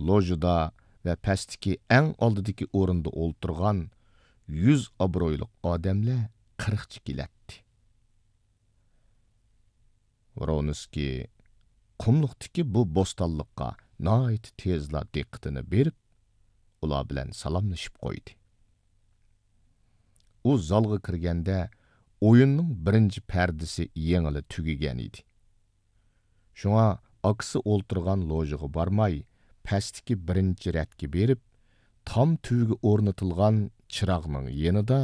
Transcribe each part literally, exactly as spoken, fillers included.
لوژىدا ۋە پەستىكى ئەڭ ئالدىدىكى ئورۇندا ئولتۇرغان يۈز ئابرۇيلۇق ئادەملەر قىرىقچە كېلەتتى. ۋرونسكىي قۇملۇقتىكى بۇ بوستانلىققا ناھايىتى تېزلا دىققىتىنى بېرىپ، ئۇلار بىلەن سالاملىشىپ قويدى. ئۇ زالغا كىرگەندە، ئويۇننىڭ بىرىنچى پەردىسى يېڭىلا تۈگىگەن ئىدى. شۇڭا ئاكىسى ئولتۇرغان لوژىغا بارماي، پەستىكى بىرىنچى رەتكە بېرىپ، تام تۈۋىگە ئورنىتىلغان چىراغنىڭ يېنىدا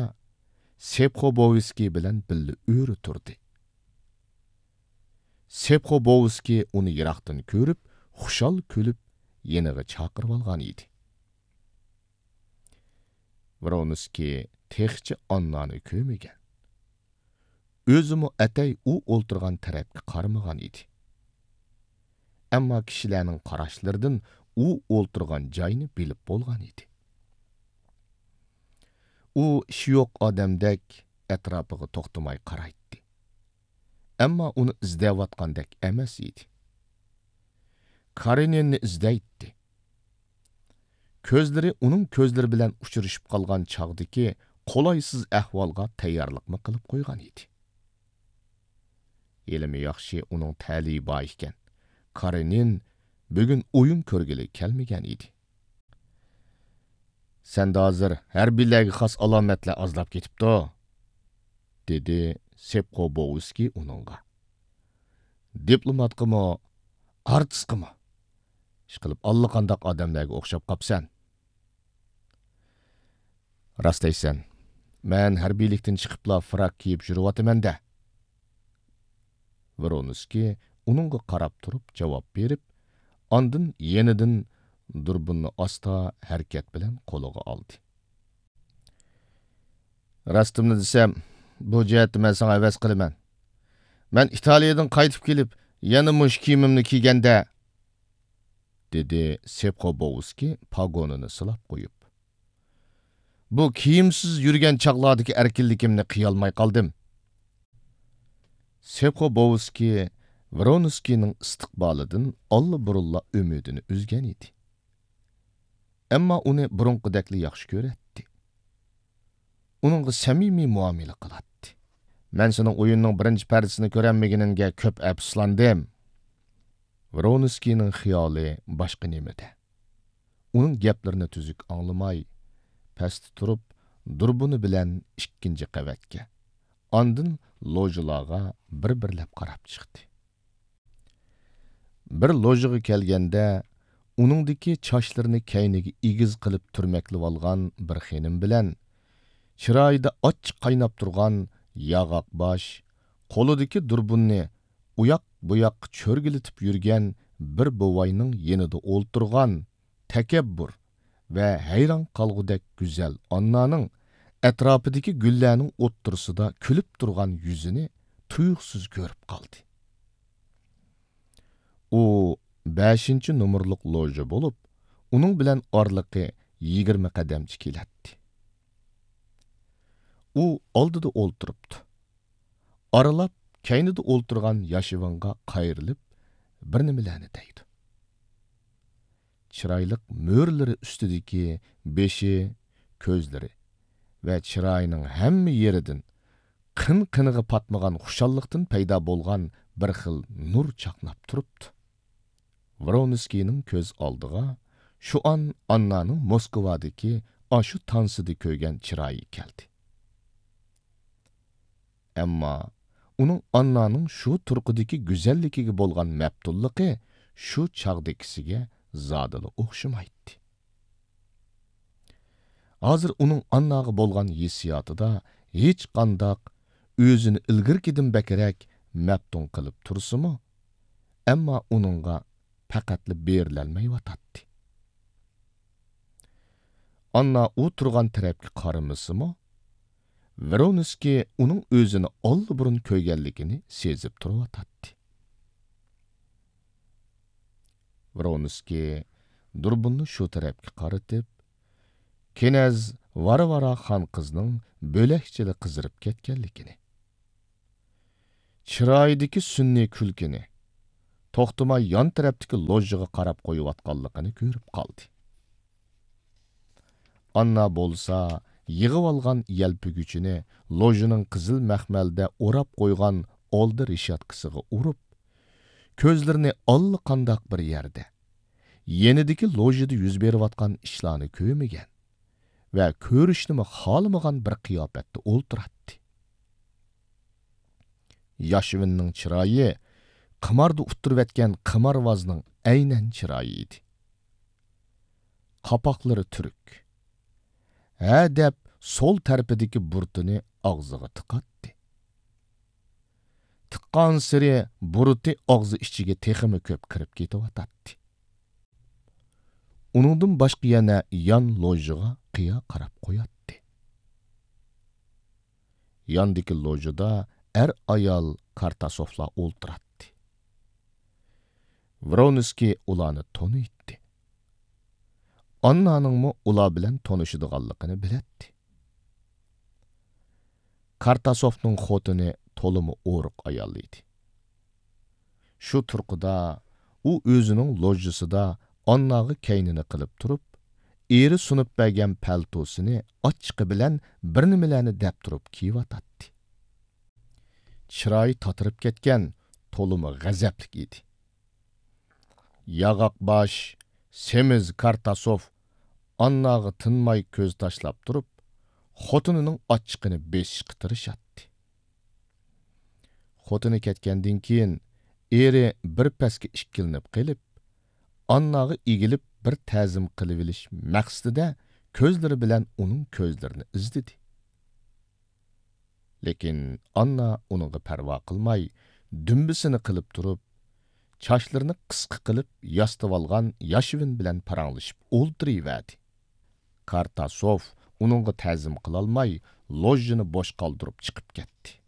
سېپخوبوۋسكىي بىلەن بىللە ئۆرە تۇردى. سېپخوبوۋسكىي ئۇنى يىراقتىن كۆرۈپ، خۇشال كۈلۈپ، يېنىغا چاقىرىۋالغان ئىدى. ۋرونسكىي تېخىچە ئاننانى كۆرمىگەن. ئۆزىمۇ ئەتەي ئۇ ئولتۇرغان تەرەپكە قارىمىغان ئىدى. ئەمما كىشىلەرنىڭ قاراشلىرىدىن ئۇ ئولتۇرغان جاينى بىلىپ بولغان ئىدى. ئۇ ئىشى يوق ئادەمدەك ئەتراپىغا توختىماي قارايتتى. ئەمما ئۇنى ئىزدەۋاتقاندەك ئەمەس ئىدى. كارېنىننى ئىزدەيتتى. كۆزلىرى ئۇنىڭ كۆزلىرى بىلەن ئۇچرىشىپ قالغان چاغدىكى قولايسىز ئەھۋالغا تەييارلىقمۇ قىلىپ قويغان ئىدى. ھېلىمۇ ياخشى ئۇنىڭ تەلىيى بار ئىكەن. كارېنىن بۈگۈن ئويۇن كۆرگىلى كەلمىگەن ئىدى. سەندە ھازىر ھەربىيلەرگە خاس ئالامەتلەر ئازلاپ كېتىپتۇ، دېدى سېپخوبوۋسكىي ئۇنىڭغا. دىپلوماتقىمۇ، ئارتىسقىمۇ. ئىشقىلىپ ئاللىقانداق ئادەملەرگە ئوخشاپ قاپسەن. راست دەيسەن. مەن ھەربىيلىكتىن چىقىپلا فراك كىيىپ يۈرۈۋاتىمەن-دە. ۋرونسكىي ئۇنىڭغا قاراپ تۇرۇپ جاۋاب بېرىپ، ئاندىن يېنىدىن دۇربۇننى ئاستا ھەرىكەت بىلەن قولىغا ئالدى. راستىمنى دېسەم، بۇ جەھەتتە مەن ساڭا ھەۋەس قىلىمەن. مەن ئىتالىيەدىن قايتىپ كېلىپ، يەنە مۇشۇ كىيىمىمنى كىيگەندە، دېدى سېپخوبوۋسكىي پاگونىنى سىلاپ قويۇپ. بۇ كىيىمسىز يۈرگەن چاغلاردىكى ئەركىنلىكىمنى قىيالماي قالدىم. سېپخوبوۋسكىي ۋرونسكىينىڭ ئىستىقبالىدىن ئاللىبۇرۇنلا ئۈمىدىنى ئۈزگەن ئىدى. ئەمما ئۇنى بۇرۇنقىدەكلا ياخشى كۆرەتتى. ئۇنىڭغا سەمىمىي مۇئامىلە قىلاتتى. مەن سېنىڭ ئويۇننىڭ بىرىنچى پەردىسىنى كۆرەلمىگىنىڭگە كۆپ ئەپسۇسلاندىم. ۋرونسكىينىڭ خىيالى باشقا نېمىدە. ئۇنىڭ گەپلىرىنى تۈزۈك ئاڭلىماي، پەستە تۇرۇپ، دۇربۇنى بىلەن ئىككىنچى قەۋەتكە، ئاندىن لوژىلارغا بىر-بىرلەپ قاراپ چىقتى. بىر لوژىغا كەلگەندە، ئۇنىڭدىكى چاچلىرىنى كەينىگە ئېگىز قىلىپ تۈرمەكلىۋالغان بىر خېنىم بىلەن، چىرايىدا ئاچچىق قايناپ تۇرغان ياغاق باش، قولىدىكى دۇربۇننى ئۇياق-بۇياققا چۆرگىلىتىپ يۈرگەن بىر بوۋاينىڭ يېنىدا ئولتۇرغان تەكەببۇر ۋە ھەيران قالغۇدەك گۈزەل ئاننانىڭ ئەتراپىدىكى گۈللەرنىڭ ئوتتۇرىسىدا كۈلۈپ تۇرغان يۈزىنى تۇيۇقسىز كۆرۈپ قالدى. ئۇ بەشىنچى نومۇرلۇق لوژا بولۇپ، ئۇنىڭ بىلەن ئارىلىقى يىگىرمە قەدەمچە كېلەتتى. ئۇ ئالدىدا ئولتۇرۇپتۇ. ئارىلاپ كەينىدە ئولتۇرغان ياشىۋىنغا قايرىلىپ، بىر نېمىلەرنى دەيدۇ. چىرايلىق مۆرىلىرى ئۈستىدىكى بېشى، كۆزلىرى ۋە چىرايىنىڭ ھەممە يېرىدىن قىن-قىنىغا پاتمىغان خۇشاللىقتىن پەيدا بولغان بىر خىل نۇر چاقناپ تۇرۇپتۇ. ۋرونسكىينىڭ كۆز ئالدىغا شۇ ئان ئاننانىڭ موسكۋادىكى ئاشۇ تانسىدا كۆرگەن چىرايى كەلدى. ئەمما ئۇنىڭ ئاننانىڭ شۇ تۇرقىدىكى گۈزەللىكىگە بولغان مەپتۇنلۇقى شۇ چاغدىكىسىگە زادىلا ئوخشىمايتتى. ھازىر ئۇنىڭ ئانناغا بولغان ھېسسىياتىدا ھېچقانداق ئۆزىنى ئىلگىرىكىدىن بەكرەك مەپتۇن قىلىپ تۇرسىمۇ، ئەمما ئۇنىڭغا پەقەتلا بېرىلەلمەيۋاتاتتى. ئاننا ئۇ تۇرغان تەرەپكە قارىمىسىمۇ، ۋرونسكىي ئۇنىڭ ئۆزىنى ئاللىبۇرۇن كۆرگەنلىكىنى سېزىپ تۇرۇۋاتاتتى. ۋرونسكىي دۇربۇننى شۇ تەرەپكە قارىتىپ، كېنەز ۋارۋارا خان قىزنىڭ بۆلەكچىلا قىزىرىپ كەتكەنلىكىنى، چىرايىدىكى سۈنئىي كۈلكىنى، توختىماي يان تەرەپتىكى لوژژىغا قاراپ قويۇۋاتقانلىقىنى كۆرۈپ قالدى. ئاننا بولسا يىغىۋالغان يەلپۈگۈچىنى لوژژىنىڭ قىزىل مەخمەلدە ئوراپ قويغان ئالدى رېشاتكىسىغا ئۇرۇپ، كۆزلىرىنى ئاللىقانداق بىر يەردە، يېنىدىكى لوژژىدا يۈز بېرىۋاتقان ئىشلارنى كۆرمىگەن ۋە كۆرۈشنىمۇ خالىمىغان بىر قىياپەتتە ئولتۇراتتى. ياشۋىننىڭ چىرايى قىماردا ئۇتتۇرۇۋەتكەن قىمارۋازنىڭ ئەينەن چىرايى ئىدى. قاپاقلىرى تۈرۈك. ھە دەپ سول تەرىپىدىكى بۇرۇتىنى ئاغزىغا تىقاتتى. تىققانسېرى بۇرۇتى ئاغزى ئىچىگە تېخىمۇ كۆپ كىرىپ كېتىۋاتاتتى. ئۇنىڭدىن باشقا يەنە يان لوژژىغا قىيا قاراپ قوياتتى. ياندىكى لوژژىدا ئەر-ئايال كارتاسوفلار ئولتۇراتتى. ۋرونسكىي ئۇلارنى تونۇيتتى. ئاننانىڭمۇ ئۇلار بىلەن تونۇشىدىغانلىقىنى بىلەتتى. كارتاسوفنىڭ خوتۇنى تولىمۇ ئورۇق ئايال ئىدى. شۇ تۇرقىدا ئۇ ئۆزىنىڭ لوژژىسىدا ئانناغا كەينىنى قىلىپ تۇرۇپ، ئېرى سۇنۇپ بەرگەن پەلتوسىنى ئاچچىقى بىلەن بىر نېمىلەرنى دەپ تۇرۇپ كىيىۋاتاتتى. چىرايى تاتىرىپ كەتكەن، تولىمۇ غەزەپلىك ئىدى. ياغاق باش، سېمىز كارتاسوف ئانناغا تىنماي كۆز تاشلاپ تۇرۇپ، خوتۇنىنىڭ ئاچچىقىنى بېسىشقا تىرىشاتتى. خوتۇنى كەتكەندىن كېيىن، ئېرى بىر پەسكە ئىككىلىنىپ قېلىپ، ئانناغا ئېگىلىپ بىر تەزىم قىلىۋېلىش مەقسىتىدە كۆزلىرى بىلەن ئۇنىڭ كۆزلىرىنى ئىزدىدى. لېكىن ئاننا ئۇنىڭغا پەرۋا قىلماي، دۈمبىسىنى قىلىپ تۇرۇپ، چاچلىرىنى قىسقا قىلىپ ياسىتىۋالغان ياشۋىن بىلەن پاراڭلىشىپ ئولتۇرۇۋەردى. كارتاسوف ئۇنىڭغا تەزىم قىلالماي، لوژژىنى بوش قالدۇرۇپ چىقىپ كەتتى.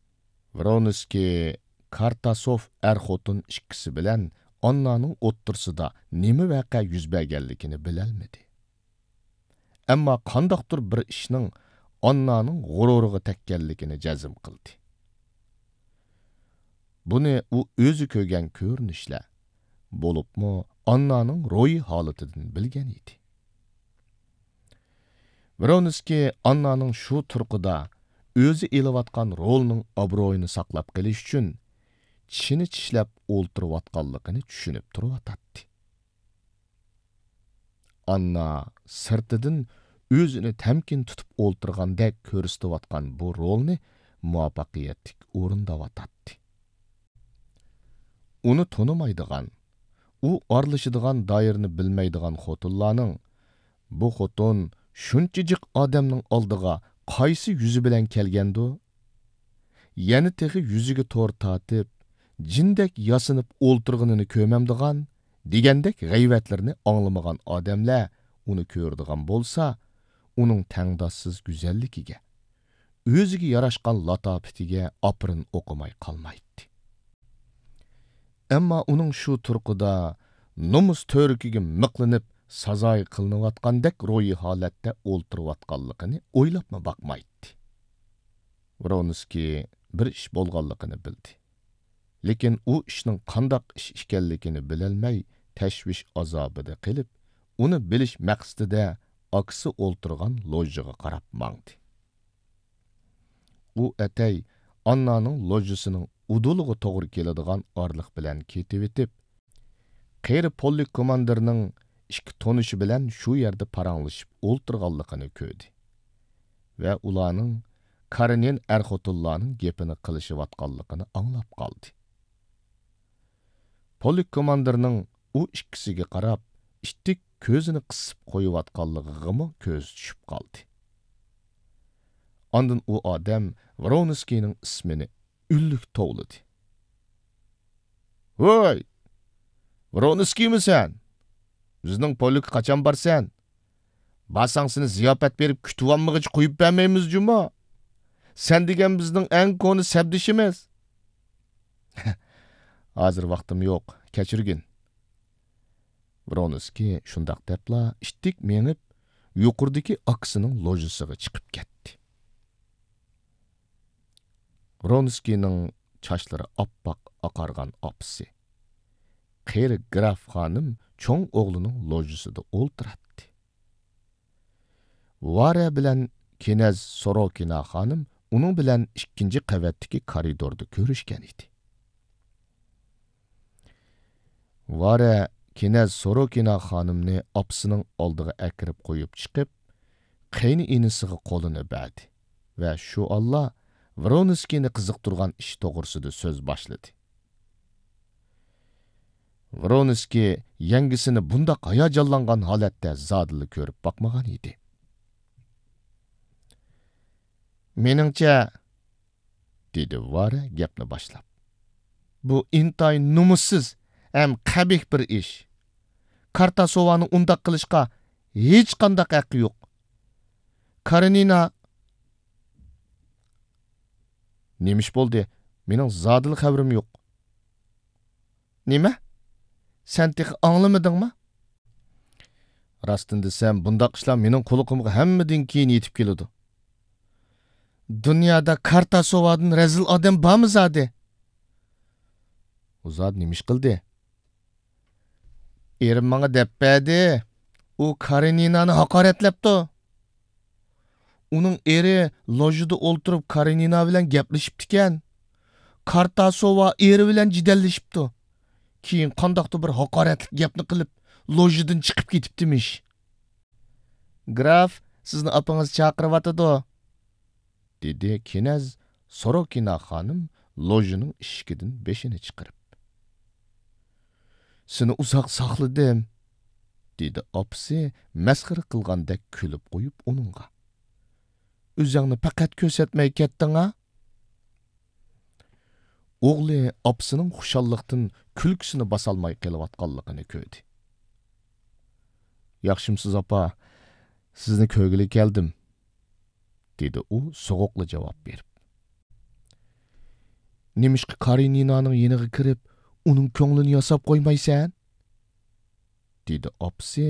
ۋرونسكىي كارتاسوف ئەر-خوتۇن ئىككىسى بىلەن ئاننانىڭ ئوتتۇرىسىدا نېمە ۋەقە يۈز بەرگەنلىكىنى بىلەلمىدى. ئەمما قانداقتۇر بىر ئىشنىڭ ئاننانىڭ غۇرۇرىغا تەگكەنلىكىنى جەزم قىلدى. بۇنى ئۇ ئۆزى كۆرگەن كۆرۈنۈشلەر، بولۇپمۇ ئاننانىڭ روھىي ھالىتىدىن بىلگەن ئىدى. ۋرونسكىي ئاننانىڭ شۇ تۇرقىدا ئۆزى ئېلىۋاتقان رولىنىڭ ئابرۇيىنى ساقلاپ قېلىش ئۈچۈن چىشىنى چىشلەپ ئولتۇرۇۋاتقانلىقىنى چۈشىنىپ تۇرۇۋاتاتتى. ئاننا سىرتىدىن ئۆزىنى تەمكىن تۇتۇپ ئولتۇرغاندەك كۆرسىتىۋاتقان بۇ رولنى مۇۋەپپەقىيەتلىك ئورۇنداۋاتاتتى. ئۇنى تونۇمايدىغان، ئۇ ئارىلىشىدىغان دائىرىنى بىلمەيدىغان خوتۇنلارنىڭ، «بۇ خوتۇن شۇنچە جىق ئادەمنىڭ ئالدىغا قايسى يۈزى بىلەن كەلگەندۇ؟» يەنە تېخى يۈزىگە تور تارتىپ، جىندەك ياسىنىپ ئولتۇرغىنىنى كۆرمەمدىغان، دېگەندەك غەيۋەتلىرىنى ئاڭلىمىغان ئادەملەر ئۇنى كۆرىدىغان بولسا، ئۇنىڭ تەڭداشسىز گۈزەللىكىگە، ئۆزىگە ياراشقان لاتاپىتىگە ئاپىرىن ئوقۇماي قالمايتتى. ئەمما ئۇنىڭ شۇ تۇرقىدا نومۇس تۈۋرۈكىگە مىقلىنىپ سازايى قىلىنىۋاتقاندەك روھىي ھالەتتە ئولتۇرۇۋاتقانلىقىنى ئويلاپمۇ باقمايتتى. ۋرونسكىي بىر ئىش بولغانلىقىنى بىلدى. لېكىن ئۇ ئىشنىڭ قانداق ئىش ئىكەنلىكىنى بىلەلمەي، تەشۋىش ئازابىدا قېلىپ، ئۇنى بىلىش مەقسىتىدە ئاكىسى ئولتۇرغان لوژژىغا قاراپ ماڭدى. ئۇ ئەتەي ئاننانىڭ لوژژىسىنىڭ ئۇدۇلىغا توغرا كېلىدىغان ئارىلىق بىلەن كېتىۋېتىپ، قېرى پولك كوماندىرنىڭ ئىككى تونۇشى بىلەن شۇ يەردە پاراڭلىشىپ ئولتۇرغانلىقىنى كۆردى ۋە ئۇلارنىڭ كارېنىن ئەر-خوتۇنلارنىڭ گېپىنى قىلىشىۋاتقانلىقىنى ئاڭلاپ قالدى. پولك كوماندىرنىڭ ئۇ ئىككىسىگە قاراپ، ئىتتىك كۆزىنى قىسىپ قويۇۋاتقانلىقىغىمۇ كۆزى چۈشۈپ قالدى. ئاندىن ئۇ ئادەم ۋرونسكىينىڭ ئىسمىنى ئۈنلۈك توۋلىدى. «ھوي! ۋرونسكىيمۇ سەن؟ بىزنىڭ پولكقا قاچان بارسەن؟ بارساڭ سېنى زىياپەت بېرىپ كۈتۈۋالمىغىچە قويۇپ بەرمەيمىز جۇمۇ. سەن دېگەن بىزنىڭ ئەڭ كونا سەپدىشىمىز.» «ھازىر ۋاقتىم يوق، كەچۈرگىن.» ۋرونسكىي شۇنداق دەپلا ئىتتىك مېڭىپ، يۇقىرىدىكى ئاكىسىنىڭ لوژىسىغا چىقىپ كەتتى. ۋرونسكىينىڭ چاچلىرى ئاپئاق ئاقارغان ئاپىسى، قېرى گراف خانىم چوڭ ئوغلىنىڭ لوژىسىدا ئولتۇراتتى. ۋارە بىلەن كېنەز سوروكىنا خانىم ئۇنىڭ بىلەن ئىككىنچى قەۋەتتىكى كارىدوردا كۆرۈشكەن ئىدى. ۋارە كېنەز سوروكىنا خانىمنى ئاپىسىنىڭ ئالدىغا ئەكىرىپ قويۇپ چىقىپ، قېيىنئىنىسىغا قولىنى بەردى ۋە شۇ ئاللا ۋرونسكىينى قىزىقتۇرغان ئىش توغرىسىدا سۆز باشلىدى. ۋرونسكىي يەڭگىسىنى بۇنداق ھاياجانلانغان ھالەتتە زادىلا كۆرۈپ باقمىغان ئىدى. مېنىڭچە، دېدى ۋارە گەپنى باشلاپ. بۇ ئىنتايىن نومۇسسىز ھەم قەبىھ بىر ئىش. كارتاسوۋانىڭ ئۇنداق قىلىشقا ھېچقانداق ھەققى يوق. كارېنىنا. نېمە ئىش بولدى؟ مېنىڭ زادىلا خەۋىرىم يوق. نېمە؟ سەن تېخى ئاڭلىمىدىڭمۇ؟ راستىنى دېسەم، بۇنداق ئىشلار مېنىڭ قۇلىقىمغا ھەممىدىن كېيىن يېتىپ كېلىدۇ. دۇنيادا كارتاسوۋادىن رەزىل ئادەم بارمۇ زادى؟ ئۇ زادى نېمە ئىش قىلدى؟ ئېرىم ماڭا دەپ بەردى. ئۇ كارېنىنانى ھاقارەتلەپتۇ. ئۇنىڭ ئېرى لوژىدا ئولتۇرۇپ كارېنىنا بىلەن گەپلىشىپتىكەن. كارتاسوۋا ئېرى بىلەن جېدەللىشىپتۇ. كېيىن قانداقتۇر بىر ھاقارەتلىك گەپنى قىلىپ، لوژىدىن چىقىپ كېتىپتىمىش. گراف، سىزنى ئاپىڭىز چاقىرىۋاتىدۇ، دېدى كېنەز سوروكىنا خانىم لوژىنىڭ ئىشىكىدىن بېشىنى چىقىرىپ. سېنى ئۇزاق ساقلىدىم، دېدى ئاپىسى مەسخىرە قىلغاندەك كۈلۈپ قويۇپ ئۇنىڭغا. ئۆزۈڭنى پەقەت كۆرسەتمەي كەتتىڭ-ھە؟ ئوغلى ئاپىسىنىڭ خۇشاللىقتىن كۈلكىسىنى باسالماي قېلىۋاتقانلىقىنى كۆردى. ياخشىمسىز، ئاپا؟ سىزنى كۆرگىلى كەلدىم، دېدى ئۇ سوغۇقلا جاۋاب بېرىپ. نېمىشقا كارېنىنانىڭ يېنىغا كىرىپ، ئۇنىڭ كۆڭلىنى ياساپ قويمايسەن؟ دېدى ئاپىسى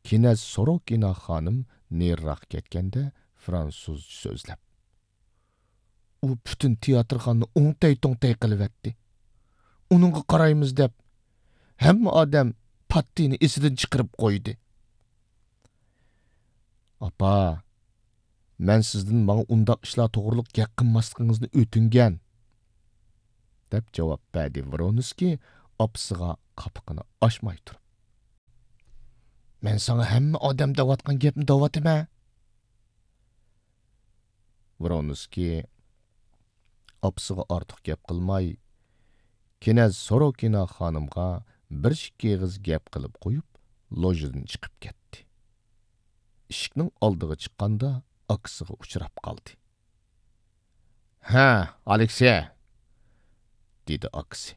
كېنەز سوروكىنا خانىم نېرىراق كەتكەندە فرانسۇزچە سۆزلەپ. ئۇ پۈتۈن تىياتىرخانىنى ئوڭتەي-توڭتەي قىلىۋەتتى. ئۇنىڭغا قارايمىز دەپ، ھەممە ئادەم پاتتىنى ئېسىدىن چىقىرىپ قويدى. ئاپا، مەن سىزدىن ماڭا ئۇنداق ئىشلار توغرۇلۇق گەپ قىلماسلىقىڭىزنى ئۆتۈنگەن، دەپ جاۋاب بەردى ۋرونسكىي ئاپىسىغا قاپىقىنى ئاچماي تۇرۇپ. مەن ساڭا ھەممە ئادەم دەۋاتقان گەپنى دەۋاتىمەن. ۋرونسكىي ئاپىسىغا ئارتۇق گەپ قىلماي، كېنەز سوروكىنا خانىمغا بىر ئىككى ئېغىز گەپ قىلىپ قويۇپ، لوژىدىن چىقىپ كەتتى. ئىشىكنىڭ ئالدىغا چىققاندا، ئاكىسىغا ئۇچراپ قالدى. ھە، ئالېكسېي، دېدى ئاكىسى.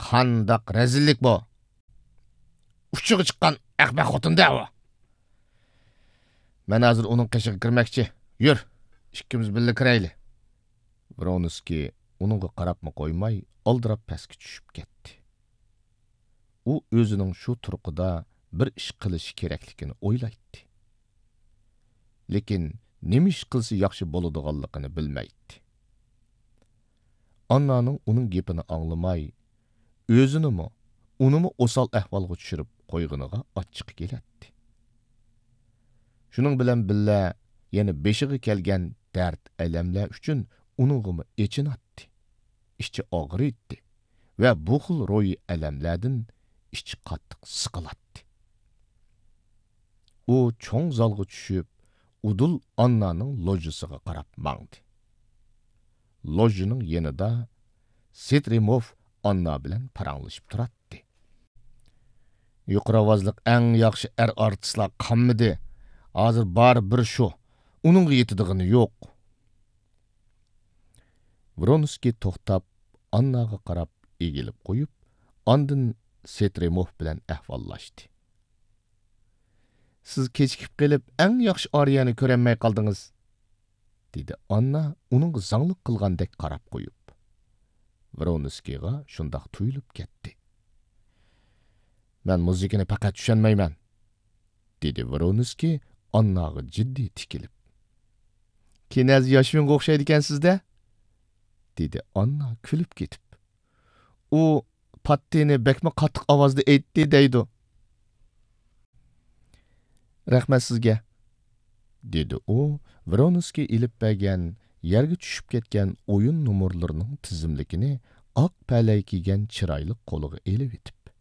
قانداق رەزىللىك بۇ! ئۇچىغا چىققان ئەخمەق خوتۇن-دە ئۇ! مەن ھازىر ئۇنىڭ قېشىغا كىرمەكچى. يۈر، ئىككىمىز بىللە كىرەيلى. ۋرونسكىي ئۇنىڭغا قاراپمۇ قويماي، ئالدىراپ پەسكە چۈشۈپ كەتتى. ئۇ ئۆزىنىڭ شۇ تۇرقىدا بىر ئىش قىلىشى كېرەكلىكىنى ئويلايتتى. لېكىن نېمە ئىش قىلسا ياخشى بولىدىغانلىقىنى بىلمەيتتى. ئاننانىڭ ئۇنىڭ گېپىنى ئاڭلىماي، ئۆزىنىمۇ، ئۇنىمۇ ئوسال ئەھۋالغا چۈشۈرۈپ قويغىنىغا ئاچچىقى كېلەتتى. شۇنىڭ بىلەن بىللە، يەنە بېشىغا كەلگەن دەرد-ئەلەملەر ئۈچۈن ئۇنىڭغىمۇ ئېچىناتتى، ئىچى ئاغرىيتتى ۋە بۇ خىل روھىي ئەلەملەردىن ئىچى قاتتىق سىقىلاتتى. ئۇ چوڭ زالغا چۈشۈپ، ئۇدۇل ئاننانىڭ لوژىسىغا قاراپ ماڭدى. لوژىنىڭ يېنىدا سترېموف ئاننا بىلەن پاراڭلىشىپ تۇراتتى. يۇقىرى ئاۋازلىق ئەڭ ياخشى ئەر ئارتىسلار قالمىدى. ھازىر بار بىر شۇ. ئۇنىڭغا يېتىدىغىنى يوق. ۋرونسكىي توختاپ، ئانناغا قاراپ ئېگىلىپ قويۇپ، ئاندىن سترېموف بىلەن ئەھۋاللاشتى. سىز كېچىكىپ قېلىپ، ئەڭ ياخشى ئارىيەنى كۆرەلمەي قالدىڭىز، دېدى ئاننا ئۇنىڭغا زاڭلىق قىلغاندەك قاراپ قويۇپ. ۋرونسكىيغا شۇنداق تۇيۇلۇپ كەتتى. مەن مۇزىكىنى پەقەت چۈشەنمەيمەن، دېدى ۋرونسكىي ئانناغا جىددىي تىكىلىپ. كىنەز ياشۋىنغا ئوخشايدىكەنسىز-دە، دېدى ئاننا كۈلۈپ كېتىپ. ئۇ پاتتىنى بەكمۇ قاتتىق ئاۋازدا ئېيتتى دەيدۇ. رەھمەت سىزگە، دېدى ئۇ ۋرونسكىي ئېلىپ بەرگەن يەرگە چۈشۈپ كەتكەن ئويۇن نومۇرلىرىنىڭ تىزىملىكىنى ئاق پەلەي كىيگەن چىرايلىق قولىغا ئېلىۋېتىپ.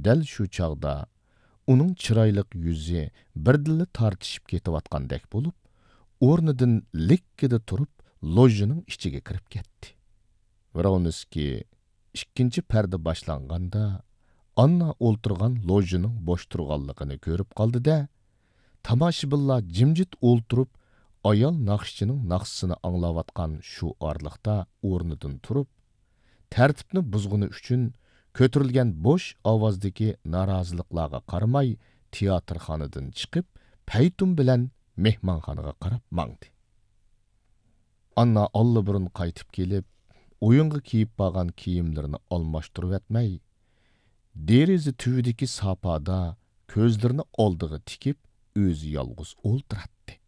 دەل شۇ چاغدا ئۇنىڭ چىرايلىق يۈزى بىردىنلا تارتىشىپ كېتىۋاتقاندەك بولۇپ، ئورنىدىن لىككىدە تۇرۇپ، لوژىنىڭ ئىچىگە كىرىپ كەتتى. ۋرونسكىي ئىككىنچى پەردە باشلانغاندا، ئاننا ئولتۇرغان لوژىنىڭ بوش تۇرغانلىقىنى كۆرۈپ قالدى-دە، تاماشىبىنلار جىمجىت ئولتۇرۇپ، ئايال ناخشىچىنىڭ ناخشىسىنى ئاڭلاۋاتقان شۇ ئارىلىقتا ئورنىدىن تۇرۇپ، تەرتىپنى بۇزغىنى ئۈچۈن كۆتۈرۈلگەن بوش ئاۋازدىكى نارازىلىقلارغا قارىماي، تىياتىرخانىدىن چىقىپ، پەيتۇن بىلەن مېھمانخانىغا قاراپ ماڭدى. ئاننا ئاللىبۇرۇن قايتىپ كېلىپ، ئويۇنغا كىيىپ بارغان كىيىملىرىنى ئالماشتۇرۇۋەتمەي، دېرىزە تۈۋىدىكى ساپادا كۆزلىرىنى ئالدىغا تىكىپ، ئۆزى يالغۇز ئولتۇراتتى.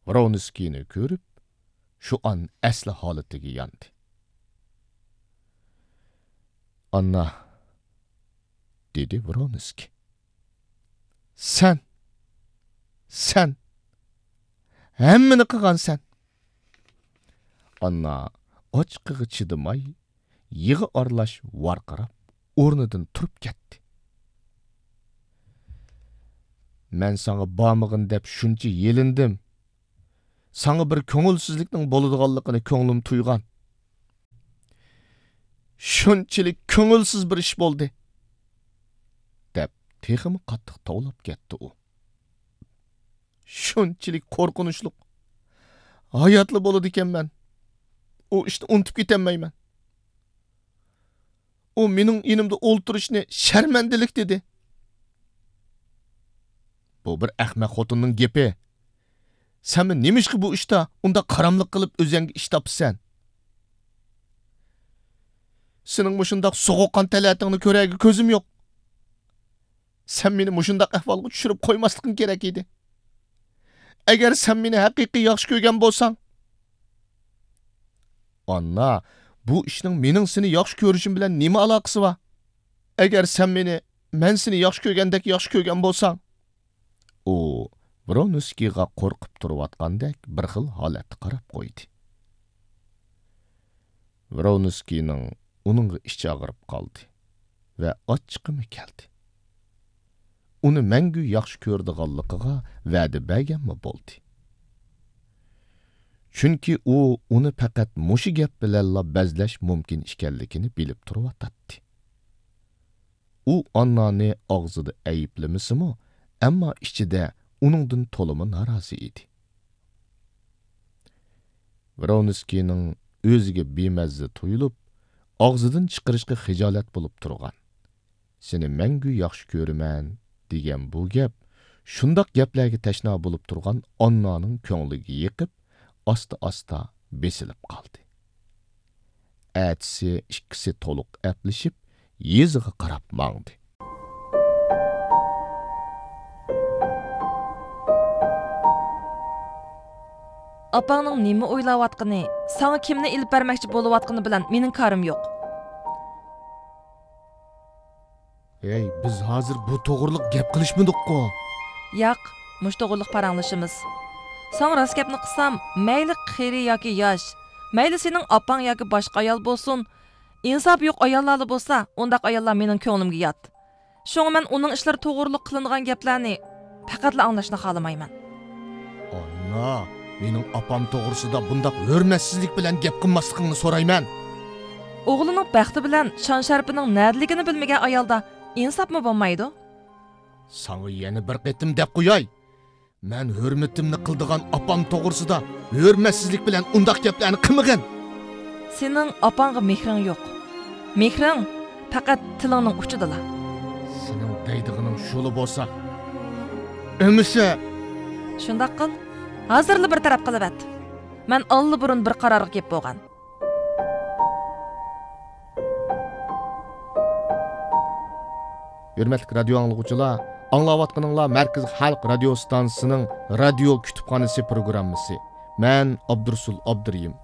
ۋرونسكىينى كۆرۈپ، شۇ ئان ئەسلى ھالىتىگە ياندى. «ئاننا»، دېدى ۋرونسكىي. «سەن! سەن! ھەممىنى قىلغانسەن!» ئاننا ئاچچىقىغا چىدىماي، يىغا ئارىلاش ۋارقىراپ، ئورنىدىن تۇرۇپ كەتتى. «مەن ساڭا بارمىغىن دەپ شۇنچە يېلىندىم. ساڭا بىر كۆڭۈلسىزلىكنىڭ بولىدىغانلىقىنى كۆڭلۈم تۇيغان. شۇنچىلىك كۆڭۈلسىز بىر ئىش بولدى»، دەپ تېخىمۇ قاتتىق توۋلاپ كەتتى ئۇ. «شۇنچىلىك قورقۇنچلۇق. ھاياتلا بولىدىكەنمەن. ئۇ ئىشنى ئۇنتۇپ كېتەلمەيمەن. ئۇ مېنىڭ يېنىمدا ئولتۇرۇشنى شەرمەندىلىك دېدى.» «بۇ بىر ئەخمەق خوتۇننىڭ گېپى. سەنمۇ نېمىشقا بۇ ئىشتا ئۇنداق قاراملىق قىلىپ ئۆزۈڭگە ئىش تاپىسەن؟» «سېنىڭ مۇشۇنداق سوغۇققان تەلەتىڭنى كۆرەرگە كۆزۈم يوق. سەن مېنى مۇشۇنداق ئەھۋالغا چۈشۈرۈپ قويماسلىقىڭ كېرەك ئىدى. ئەگەر سەن مېنى ھەقىقىي ياخشى كۆرگەن بولساڭ...» «ئاننا، بۇ ئىشنىڭ مېنىڭ سېنى ياخشى كۆرۈشۈم بىلەن نېمە ئالاقىسى بار؟ ئەگەر سەن مېنى مەن سېنى ياخشى كۆرگەندەك ياخشى كۆرگەن بولساڭ...» ئۇ ۋرونسكىيغا قورقۇپ تۇرۇۋاتقاندەك بىر خىل ھالەتتە قاراپ قويدى. ۋرونسكىينىڭ ئۇنىڭغا ئىچى ئاغرىپ قالدى ۋە ئاچچىقىمۇ كەلدى. ئۇنى مەڭگۈ ياخشى كۆرىدىغانلىقىغا ۋەدە بەرگەنمۇ بولدى. چۈنكى ئۇ ئۇنى پەقەت مۇشۇ گەپ بىلەنلا بەزلەش مۇمكىن ئىكەنلىكىنى بىلىپ تۇرۇۋاتاتتى. ئۇ ئاننانى ئاغزىدا ئەيىبلىمىسىمۇ، ئەمما ئىچىدە ئۇنىڭدىن تولىمۇ نارازى ئىدى. ۋرونسكىينىڭ ئۆزىگە بىمەززە تۇيۇلۇپ، ئاغزىدىن چىقىرىشقا خىجالەت بولۇپ تۇرغان «سېنى مەڭگۈ ياخشى كۆرىمەن» دېگەن بۇ گەپ شۇنداق گەپلەرگە تەشنا بولۇپ تۇرغان ئاننانىڭ كۆڭلىگە يېقىپ، ئاستا-ئاستا بېسىلىپ قالدى. ئەتىسى ئىككىسى تولۇق ئەپلىشىپ، يېزىغا قاراپ ماڭدى. ئاپاڭنىڭ نېمە ئويلاۋاتقىنى، ساڭا كىمنى ئېلىپ بەرمەكچى بولۇۋاتقىنى بىلەن مېنىڭ كارىم يوق. ھەي، بىز ھازىر بۇ توغرىلىق گەپ قىلىشمىدۇققۇ؟ ياق، مۇشۇ توغرىلىق پاراڭلىشىمىز. ساڭا راست گەپنى قىلسام، مەيلى قېرى ياكى ياش، مەيلى سېنىڭ ئاپاڭ ياكى باشقا ئايال بولسۇن، ئىنساپى يوق ئاياللارلا بولسا، ئۇنداق ئاياللار مېنىڭ كۆڭلۈمگە يات. شۇڭا مەن ئۇنىڭ ئىشلىرى توغرۇلۇق قىلىنىدىغان گەپلەرنى پەقەتلا ئاڭلاشنى خالىمايمەن. ئاننا، مېنىڭ ئاپام توغرىسىدا بۇنداق ھۆرمەتسىزلىك بىلەن گەپ قىلماسلىقىڭنى سورايمەن. ئوغلىنىڭ بەختى بىلەن شان-شەرىپىنىڭ نەدىلىكىنى بىلمىگەن ئايالدا ئىنساپمۇ بولمايدۇ. ساڭا يەنە بىر قېتىم دەپ قوياي. مەن ھۆرمىتىمنى قىلىدىغان ئاپام توغرىسىدا ھۆرمەتسىزلىك بىلەن ئۇنداق گەپلەرنى قىلمىغىن. سېنىڭ ئاپاڭغا مېھرىڭ يوق. مېھرىڭ پەقەت تىلىڭنىڭ ئۇچىدىلا. سېنىڭ دەيدىغىنىڭ شۇلا بولسا، ئەمىسە. شۇنداق قىل. ھازىرلا بىر تەرەپ قىلىۋەت. مەن ئاللىبۇرۇن بىر قارارغا كېلىپ بولغان. ھۆرمەتلىك رادىيو ئاڭلىغۇچىلار، ئاڭلاۋاتقىنىڭلار مەركىزىي خەلق رادىيو ئىستانسىسىنىڭ رادىيو كۇتۇپخانىسى پروگراممىسى. مەن ئابدۇرۇسۇل ئابدۇرېھىم.